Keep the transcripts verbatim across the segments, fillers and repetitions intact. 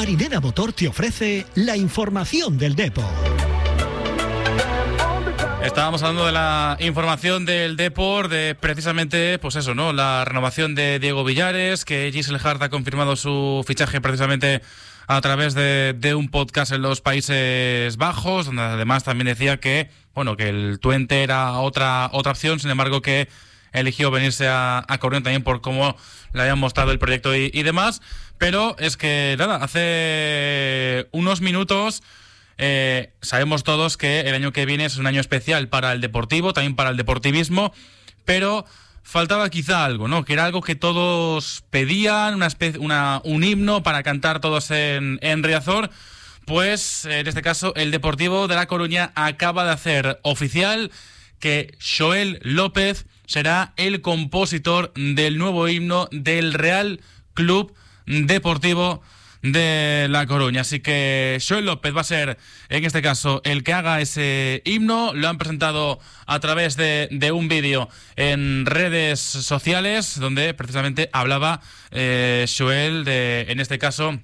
Marinera Motor te ofrece la información del Depor. Estábamos hablando de la información del Depor, de precisamente, pues eso, ¿no? La renovación de Diego Villares, que Giselle Hart ha confirmado su fichaje precisamente a través de, de un podcast en los Países Bajos, donde además también decía que, bueno, que el Twente era otra otra opción, sin embargo que eligió venirse a, a Coruña también por cómo le habían mostrado el proyecto y, y demás. Pero es que, nada, hace unos minutos eh, sabemos todos que el año que viene es un año especial para el deportivo, también para el deportivismo, pero faltaba quizá algo, ¿no? Que era algo que todos pedían, una especie, una, un himno para cantar todos en, en Riazor. Pues, en este caso, el Deportivo de La Coruña acaba de hacer oficial que Xoel López será el compositor del nuevo himno del Real Club Deportivo de La Coruña. Así que Xoel López va a ser, en este caso, el que haga ese himno. Lo han presentado a través de, de un vídeo en redes sociales, donde precisamente hablaba eh, Xoel de, en este caso,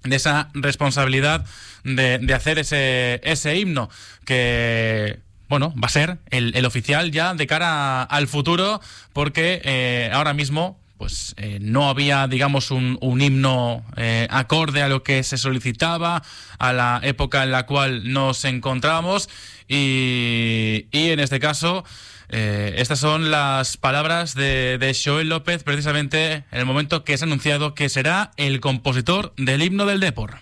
de esa responsabilidad de, de hacer ese, ese himno, que, bueno, va a ser el, el oficial ya de cara al futuro, porque eh, ahora mismo pues eh, no había, digamos, un, un himno eh, acorde a lo que se solicitaba, a la época en la cual nos encontrábamos, y, y en este caso eh, estas son las palabras de, de Xoel López, precisamente en el momento que se ha anunciado que será el compositor del himno del Depor.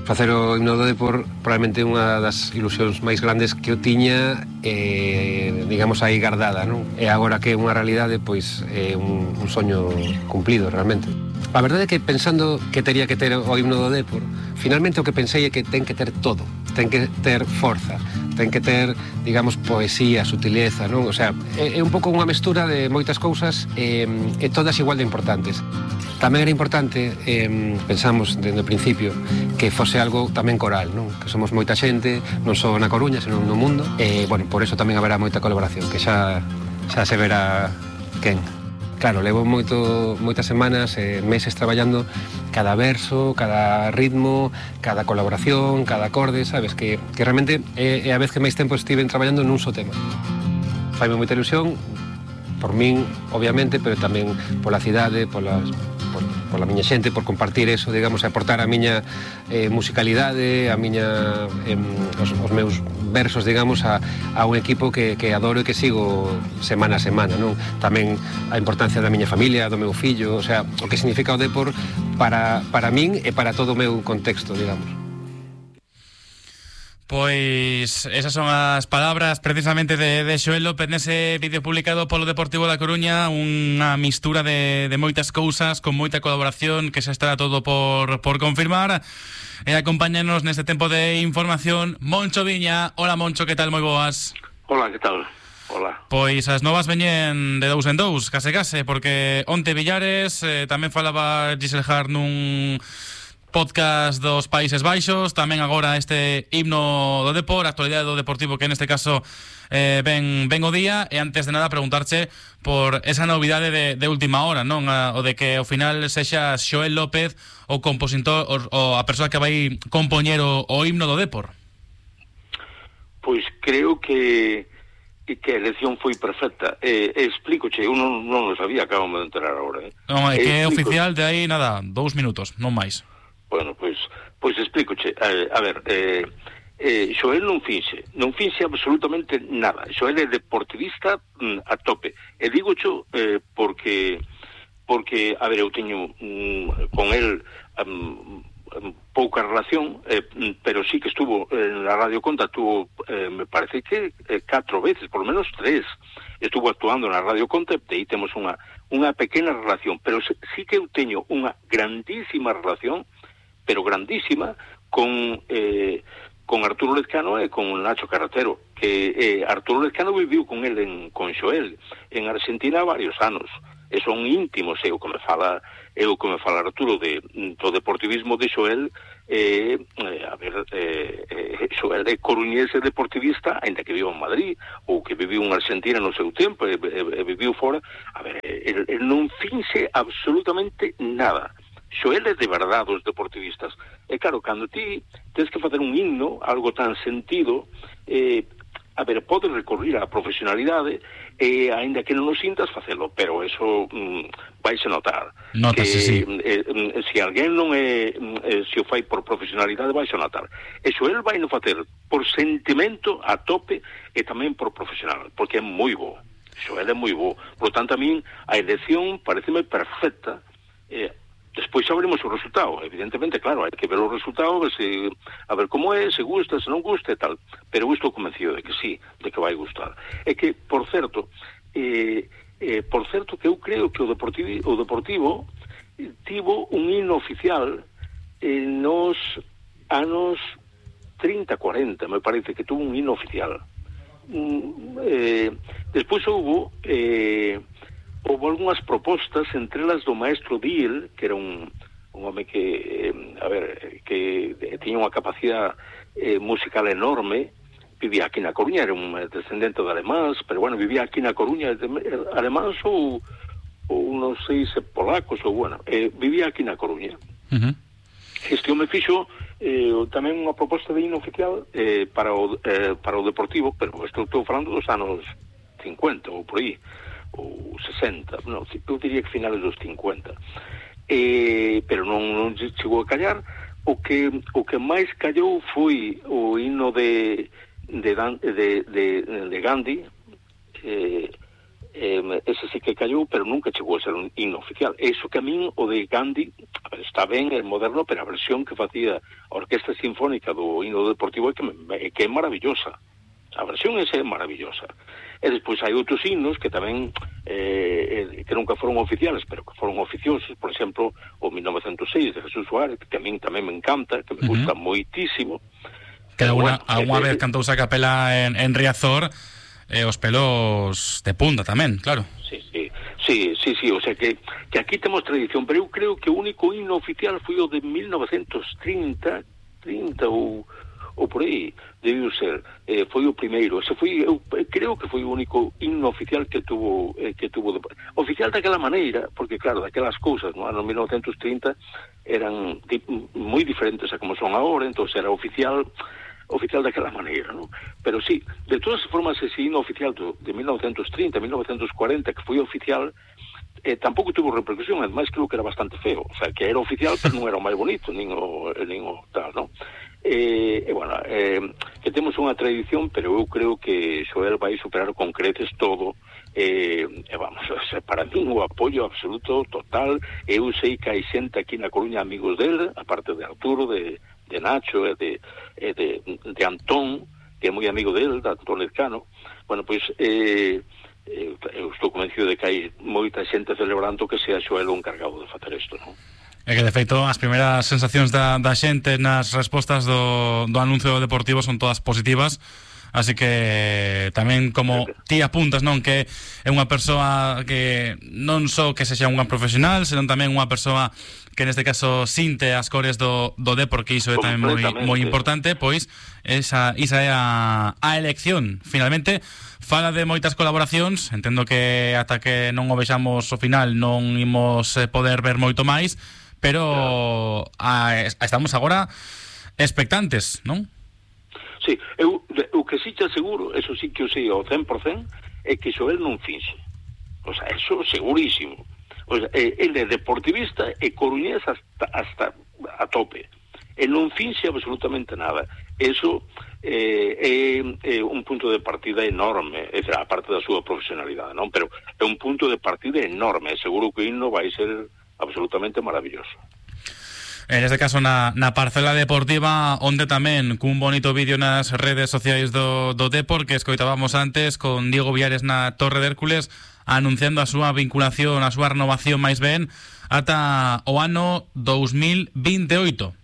Facer o himno do Depor probablemente unha das ilusións máis grandes que eu tiña, eh, digamos, aí guardada, non? E agora que é unha realidade, pois é un, un soño cumplido realmente. A verdade é que pensando que tería que ter o himno do Depor, finalmente o que pensei é que ten que ter todo, ten que ter forza, ten que ter, digamos, poesía, sutileza, non? O sea, é, é un pouco unha mestura de moitas cousas e, e todas igual de importantes. Tamén era importante, eh, pensamos desde o principio, que fose algo tamén coral, non? Que somos moita xente, non só na Coruña, senón no mundo, e, bueno, por eso tamén haberá moita colaboración, que xa, xa se verá quen. Claro, levo moito, moitas semanas, eh, meses traballando cada verso, cada ritmo, cada colaboración, cada acorde, sabes? Que, que realmente é, é a vez que máis tempo estiven traballando nun só tema. Faime moita ilusión, por min, obviamente, pero tamén pola cidade, polas, por, pola miña xente, por compartir eso, digamos, e aportar a miña eh, musicalidade, a miña, eh, os, os meus versos, digamos, a, a un equipo que, que adoro e que sigo semana a semana, non? Tamén a importancia da miña familia, do meu fillo, o sea, o que significa o Depor para, para min e para todo o meu contexto, digamos. Pois esas son as palabras precisamente de, de Xoel López nese vídeo publicado polo Deportivo da Coruña, unha mistura de, de moitas cousas, con moita colaboración, que xa estará todo por, por confirmar. E acompáñanos neste tempo de información Moncho Viña. Hola Moncho, que tal? Moi boas. Hola, que tal? Hola. Pois as novas veñen de dous en dous, case case, porque onte Villares, eh, tamén falaba Giselle Hart nun podcast dos Países Baixos, tamén agora este himno do Depor, a actualidade do Deportivo, que neste caso eh, ven, ven o día. E antes de nada preguntarche por esa novidade de, de última hora, non? A, o de que ao final sexa Xoel López o compositor, o, o a persoa que vai compoñer o, o himno do Depor. Pois creo que que a elección foi perfecta. Eh, explícoche, eu non, non lo sabía, acabo de enterar agora. Eh. Non, é que é oficial de aí, nada, dous minutos, non máis. Bueno, pois, pois explícoche. A, a ver, eh, eh, Xoel non finxe, non finxe absolutamente nada. Xoel é deportivista mm, a tope. E digocho eh, porque, porque, a ver, eu teño mm, con el um, pouca relación, eh, pero sí que estuvo en la Radio Conta, tuvo, eh, me parece que eh, catro veces, por lo menos tres, estuvo actuando na Radio Conta, e aí temos unha, unha pequena relación, pero sí que eu teño unha grandísima relación, pero grandísima, con eh, con Arturo Lezcano e con Nacho Carretero, que eh, Arturo Lezcano viviu con el en, con Xoel en Argentina varios anos, e son íntimos, é o que me fala é o que me fala Arturo de, do deportivismo de Xoel. eh, eh, a ver, eh, eh, Xoel é coruñese deportivista, ainda que viva en Madrid, ou que viviu en Argentina no seu tempo, e, e, e viviu fora. A ver, el, el non finxe absolutamente nada, Xoel é de verdade os deportivistas. E claro, cando ti tens que facer un himno, algo tan sentido, eh, a ver, podes recorrer á profesionalidade e, aínda que non o sintas, facelo, pero eso mm, vais a notar. Nótase, que, sí. Eh, eh, se alguén non é, eh, se o fai por profesionalidade, vais a notar. E Xoel vai no facer por sentimento a tope e tamén por profesional, porque é moi bo. Xoel é moi bo. Por tanto, a min a elección pareceme perfecta. Eh, Despois sabremos o resultado, evidentemente, claro, hai que ver o resultado, ver se, a ver como é, se gusta, se non gusta e tal, pero eu estou convencido de que sí, de que vai gustar. É que, por certo, eh, eh, por certo que eu creo que o Deportivo, o Deportivo eh, tivo un himno oficial eh, nos anos trinta, cuarenta, me parece que tuvo un himno oficial. Mm, eh, despois houve... Eh, houve algunhas propostas, entre elas do maestro Diel, que era un, un home que, eh, a ver, que tiña unha capacidade eh, musical enorme, vivía aquí na Coruña, era un descendente de alemáns, pero bueno, vivía aquí na Coruña, de, alemáns ou, ou non sei se polacos, ou bueno, eh, vivía aquí na Coruña. Uh-huh. Este home fixo eh, tamén unha proposta de himno oficial eh, para, o, eh, para o Deportivo, pero estou, estou falando dos anos cincuenta ou por aí, ou sesenta, non, eu diría que finales dos cincuenta, eh, pero non, non chegou a callar. O que o que máis callou foi o himno de de, de, de, de Gandhi, eh, eh, ese sí que callou, pero nunca chegou a ser un himno oficial. Eso que a min, o de Gandhi, a ver, está ben, é moderno, pero a versión que facía a Orquesta Sinfónica do himno deportivo é que, que é maravillosa. A versión esa é maravillosa. E despois hai outros himnos que tamén eh, que nunca foron oficiales, pero que foron oficiosos, por exemplo, o mil novecentos seis de Jesús Suárez, que a min tamén me encanta, que me uh-huh. gusta moitísimo. Que alguna, bueno, alguna eh, vez cantouse a capela en, en Riazor, eh, os pelos de punta tamén, claro. Sí, sí, sí, sí, sí, o sea que, que aquí temos tradición, pero eu creo que o único himno oficial foi o de mil novecentos trinta, trinta ou ou por aí, debiu ser, eh, foi o primeiro, ese foi, eu creo que foi o único himno oficial que tuvo, eh, que tuvo, oficial daquela maneira, porque claro, daquelas cousas, no ano mil novecentos trinta eran di, moi diferentes a como son agora, entón era oficial, oficial daquela maneira, ¿no? Pero sí, de todas as formas, ese himno oficial do, de mil novecentos trinta, mil novecentos cuarenta, que foi oficial, eh, tampouco tuvo repercusión, ademais creo que era bastante feo, o sea, que era oficial, pero non era o máis bonito, nin o, nin o tal, ¿no? E, eh, bueno, eh, que temos unha tradición, pero eu creo que Xoel vai superar con creces todo, e eh, vamos, o sea, para mí o apoio absoluto, total. Eu sei que hai xente aquí na Coruña amigos del, aparte de Arturo, de, de Nacho e de, e de, de Antón, que é moi amigo del, de Antón Lezcano. Bueno, pois eh, eh, eu estou convencido de que hai moita xente celebrando que sea Xoel o encargado de facer isto, non? É que, de feito, as primeiras sensacións da, da xente nas respostas do, do anuncio deportivo son todas positivas, así que tamén, como ti apuntas, non, que é unha persoa que non só que sexa un gran profesional, senón tamén unha persoa que neste caso sinte as cores do, do Depor, que iso é tamén moi, moi importante, pois esa, esa é a, a elección. Finalmente, fala de moitas colaboracións, entendo que ata que non o vexamos ao final non imos poder ver moito máis, pero a, a, estamos agora expectantes, non? Sí, eu, o que sí te aseguro, eso sí que o sei ao cen por cen, é que Xoel non finxe. O sea, eso segurísimo. O sea, ele é deportivista e coruñés hasta, hasta a tope. E non finxe absolutamente nada. Eso eh, é, é un punto de partida enorme, é a parte da súa profesionalidade, non? Pero é un punto de partida enorme, seguro que o himno vai ser absolutamente maravilloso. En este caso na, na parcela deportiva, onde tamén cun bonito vídeo nas redes sociais do, do Depor, que escoitábamos antes con Diego Villares na Torre de Hércules, anunciando a súa vinculación, a súa renovación máis ben ata o ano dos mil veintioito.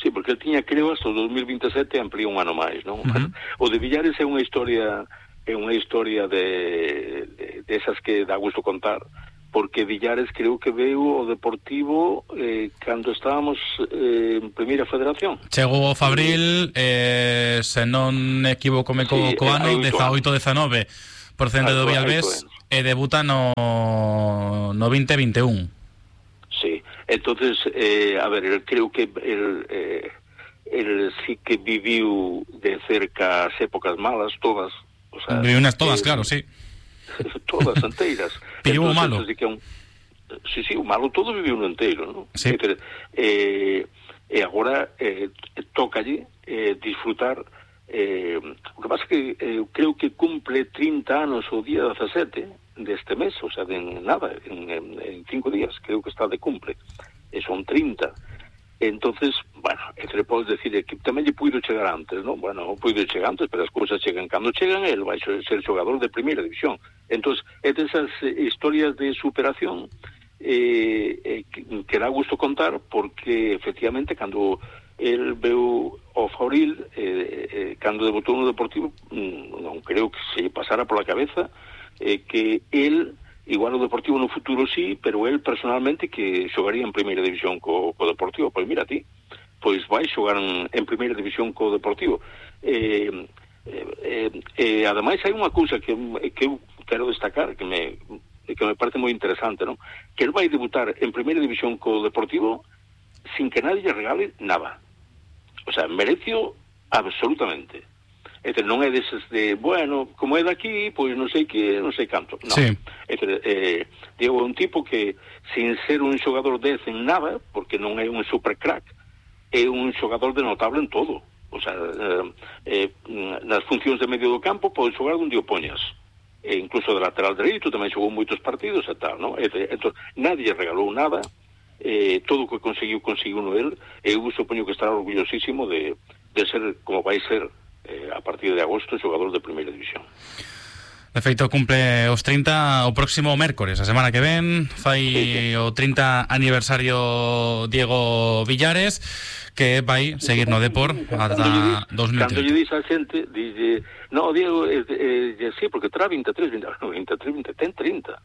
Sí, porque ele tiña, creo, hasta o dos mil veintesete, ampliou un ano máis, non? Uh-huh. O de Villares é unha historia é unha historia de, de, de esas que dá gusto contar, porque Villares creo que veu o Deportivo eh, cando estábamos eh, en Primeira Federación. Chegou o Fabril, eh, se non equivocome co, sí, co ano, dezaoito dezanove, procedente do Villalbés, e debuta no, no veinte vinte e un. Sí, entonces, eh, a ver, eu creo que el, eh, el sí que viviu de cerca as épocas malas, todas. O sea, viviu unas todas, eh, claro, sí. Todas enteiras. Viviu o malo. Que un, sí, sí, o malo todo viviu no enteiro, ¿no? Sí. Entonces, eh, e agora eh, tocalle eh, disfrutar. Eh, o que pasa é que eh, creo que cumple trinta anos o día dezasete deste mes, o sea, de nada, en, en, en cinco días, creo que está de cumple, e son trinta. Entonces, bueno, entre podes decir que tamén lle puido chegar antes, non? Bueno, non puido chegar antes, pero as cousas chegan cando chegan, el vai ser xogador de primeira división. Entonces, é desas eh, historias de superación eh, eh, que, que dá gusto contar, porque efectivamente cando el veu ao Fauril, eh, eh, cando debutou no Deportivo, non creo que se pasara pola cabeza eh, que el, igual o Deportivo no futuro sí, pero el personalmente que xogaría en primeira división co, co Deportivo. Pois mira ti, pois vai xogar en, en primeira división co Deportivo. Eh, eh, eh, eh, ademais hai unha cousa que, que eu quero destacar, que me, que me parece moi interesante, non? Que el vai debutar en primeira división co Deportivo sin que nadie lle regale nada. O sea, merecio absolutamente. Este, non é deses de, bueno, como é daqui, pois non sei que, non sei canto. No. Sí. Este, eh, digo, un tipo que, sin ser un xogador dez en nada, porque non é un super crack, é un xogador de notable en todo. O sea, eh, eh, nas funcións de medio do campo, pode xogar onde o poñas. E incluso de lateral dereito, tamén xogou moitos partidos e tal, non? Este, entón, nadie regalou nada. Eh, todo o que conseguiu, conseguiu no el, e eu supoño que estará orgullosísimo de, de ser, como vai ser eh, a partir de agosto, xogador de primeira división. De feito, cumple os trinta o próximo mércores, a semana que ven, fai sí, sí. o trinta aniversario Diego Villares, que vai seguir no Depor ata dos mil trinta. Cando lle dis a xente, dixe, no, Diego, eh, eh, sí, porque terá veintitrés, veintitrés, veintitrés, ten trinta.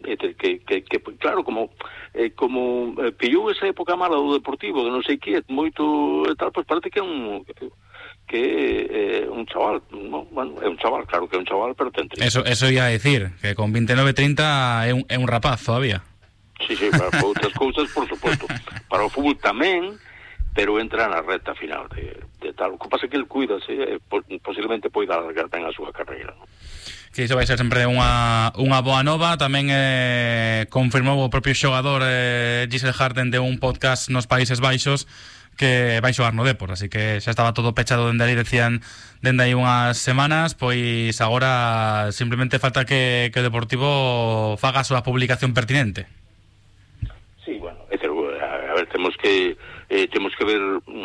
Que, que, que, que claro, como eh, como eh, pillou esa época mala do Deportivo, de non sei que, moito e tal, pois parece que é un que é eh, un chaval, no? Bueno, é un chaval, claro que é un chaval, pero ten trinta. Eso, eso ia a decir, que con veintinueve, trinta é un, é un rapaz todavía. Sí, sí, para outras cousas, por suposto. Para o fútbol tamén, pero entra na reta final de, de tal. O que pasa é que el cuida, sí, eh, posiblemente poida alargar ben a súa carreira, non? Que iso vai ser sempre unha, unha boa nova. Tamén eh, confirmou o propio xogador eh, Giselle Harden de un podcast nos Países Baixos que vai xogar no Depor, así que xa estaba todo pechado dende aí, decían dende aí unhas semanas, pois agora simplemente falta que, que o Deportivo faga a súa publicación pertinente. Sí, bueno, é ter, a ver, temos que eh, temos que ver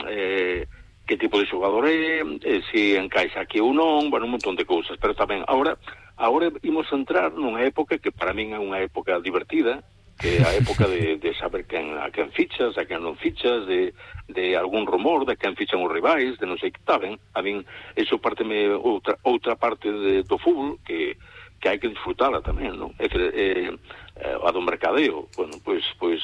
eh, que tipo de xogador é, eh, se encaixa aquí ou non, bueno, un montón de cousas, pero tamén agora agora imos entrar nunha época que para min é unha época divertida, que é a época de, de saber quen, a quen fichas, a quen non fichas, de, de algún rumor de quen fichan os rivais, de non sei que saben. A min, eso parteme outra, outra parte de, do fútbol que, que hai que disfrutala tamén, non? É que, eh, a do mercadeo, bueno, pois, pois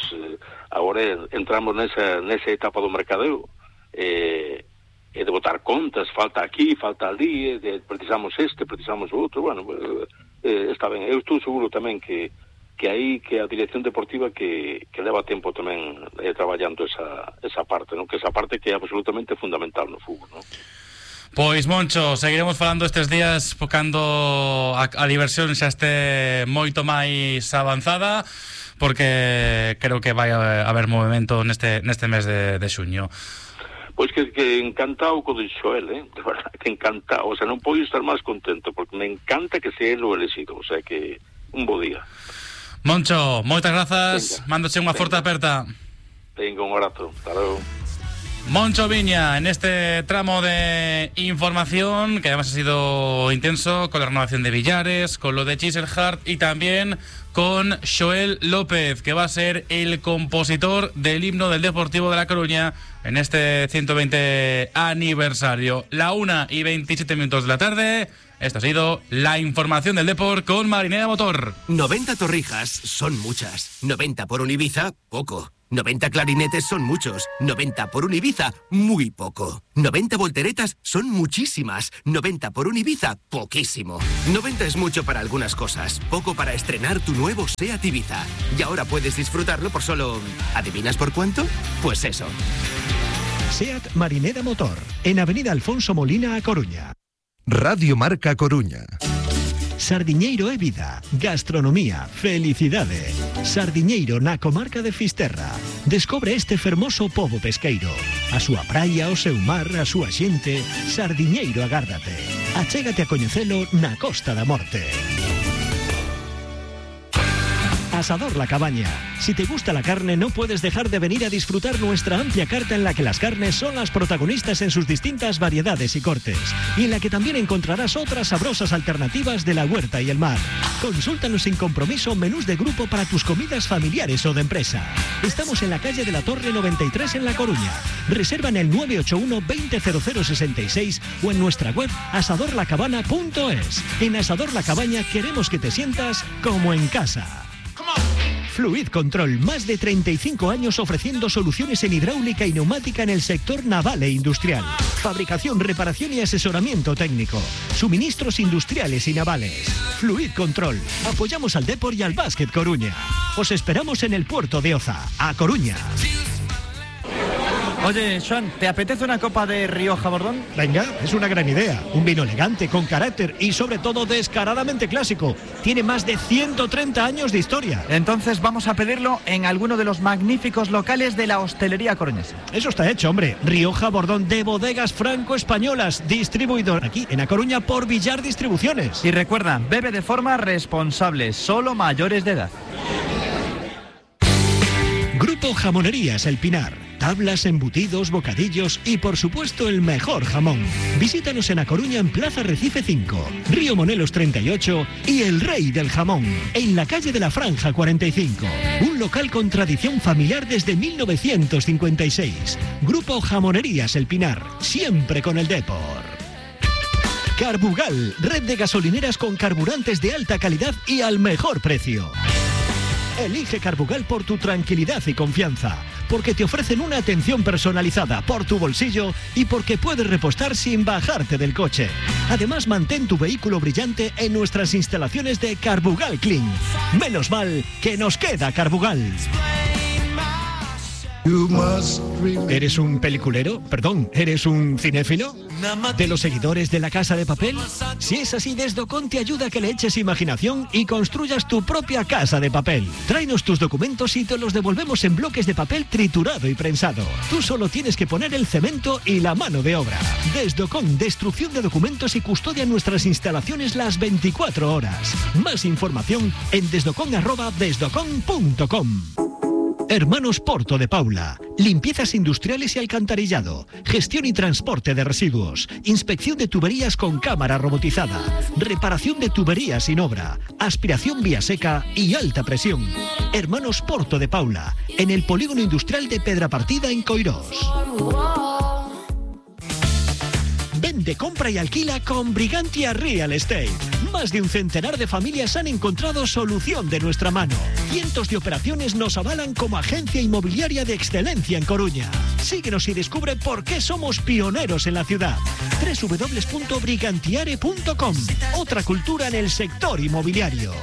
agora entramos nesa, nesa etapa do mercadeo, eh, e de botar contas, falta aquí, falta ali, de, precisamos este, precisamos outro, bueno, eh, está ben. Eu estou seguro tamén que que aí que a dirección deportiva que, que leva tempo tamén eh, traballando esa, esa parte, non? Que esa parte que é absolutamente fundamental no fútbol, non? Pois, Moncho, seguiremos falando estes días cando a, a diversión xa este moito máis avanzada, porque creo que vai haber movimento neste, neste mes de, de xuño. Pois que, que encantado co de Xoel, eh? De verdad, que encantado, o sea, non podo estar máis contento, porque me encanta que sea el o elegido, o sea, que un bo día. Moncho, moitas grazas, mándoche unha forte aperta. Venga, un abrazo, hasta logo. Moncho Viña, en este tramo de información, que además ha sido intenso, con la renovación de Villares, con lo de Chiselhart y también con Xoel López, que va a ser el compositor del himno del Deportivo de La Coruña en este ciento veinte aniversario. La una y veintisiete minutos de la tarde. Esto ha sido la información del Depor con Marinera Motor. noventa torrijas son muchas. noventa por un Ibiza, poco. noventa clarinetes son muchos. noventa por un Ibiza, muy poco. noventa volteretas son muchísimas. noventa por un Ibiza, poquísimo. noventa es mucho para algunas cosas, poco para estrenar tu nuevo SEAT Ibiza. Y ahora puedes disfrutarlo por solo... ¿adivinas por cuánto? Pues eso. SEAT Marinera Motor, en Avenida Alfonso Molina, A Coruña. Radio Marca Coruña. Sardiñeiro é vida, gastronomía, felicidade. Sardiñeiro na comarca de Fisterra. Descobre este fermoso pobo pesqueiro. A súa praia, o seu mar, a súa xente. Sardiñeiro agárdate. Achégate a coñecelo na Costa da Morte. Asador La Cabaña. Si te gusta la carne, no puedes dejar de venir a disfrutar nuestra amplia carta en la que las carnes son las protagonistas en sus distintas variedades y cortes, y en la que también encontrarás otras sabrosas alternativas de la huerta y el mar. Consúltanos sin compromiso menús de grupo para tus comidas familiares o de empresa. Estamos en la calle de la Torre noventa y tres en La Coruña. Reserva en el nueve ocho uno, veinte cero cero sesenta y seis o en nuestra web asador la cabana punto es. En Asador La Cabaña queremos que te sientas como en casa. Fluid Control, más de treinta y cinco años ofreciendo soluciones en hidráulica y neumática en el sector naval e industrial. Fabricación, reparación y asesoramiento técnico. Suministros industriales y navales. Fluid Control. Apoyamos al Depor y al Básquet Coruña. Os esperamos en el puerto de Oza, A Coruña. Oye, Joan, ¿te apetece una copa de Rioja Bordón? Venga, es una gran idea. Un vino elegante, con carácter y sobre todo descaradamente clásico. Tiene más de ciento treinta años de historia. Entonces vamos a pedirlo en alguno de los magníficos locales de la hostelería coruñesa. Eso está hecho, hombre. Rioja Bordón de Bodegas Franco-Españolas, distribuidor aquí en A Coruña por Villar Distribuciones. Y recuerda, bebe de forma responsable, solo mayores de edad. Grupo Jamonerías El Pinar. Tablas, embutidos, bocadillos y por supuesto el mejor jamón. Visítanos en A Coruña en Plaza Recife cinco, Río Monelos treinta y ocho y El Rey del Jamón, en la calle de la Franja cuarenta y cinco. Un local con tradición familiar desde mil novecientos cincuenta y seis. Grupo Jamonerías El Pinar, siempre con el Depor. Carbugal, red de gasolineras con carburantes de alta calidad y al mejor precio. Elige Carbugal por tu tranquilidad y confianza, porque te ofrecen una atención personalizada por tu bolsillo y porque puedes repostar sin bajarte del coche. Además, mantén tu vehículo brillante en nuestras instalaciones de Carbugal Clean. Menos mal que nos queda Carbugal. ¿Eres un peliculero? Perdón, ¿eres un cinéfilo? ¿De los seguidores de La Casa de Papel? Si es así, Desdocon te ayuda a que le eches imaginación y construyas tu propia casa de papel. Tráenos tus documentos y te los devolvemos en bloques de papel triturado y prensado. Tú solo tienes que poner el cemento y la mano de obra. Desdocon, destrucción de documentos y custodia en nuestras instalaciones las veinticuatro horas. Más información en desdocon arroba desdocon punto com. Hermanos Porto de Paula. Limpiezas industriales y alcantarillado. Gestión y transporte de residuos. Inspección de tuberías con cámara robotizada. Reparación de tuberías sin obra. Aspiración vía seca y alta presión. Hermanos Porto de Paula. En el polígono industrial de Pedrapartida en Coirós. Vende, compra y alquila con Brigantia Real Estate. Más de un centenar de familias han encontrado solución de nuestra mano. Cientos de operaciones nos avalan como agencia inmobiliaria de excelencia en Coruña. Síguenos y descubre por qué somos pioneros en la ciudad. doble u doble u doble u punto brigantiare punto com. Otra cultura en el sector inmobiliario.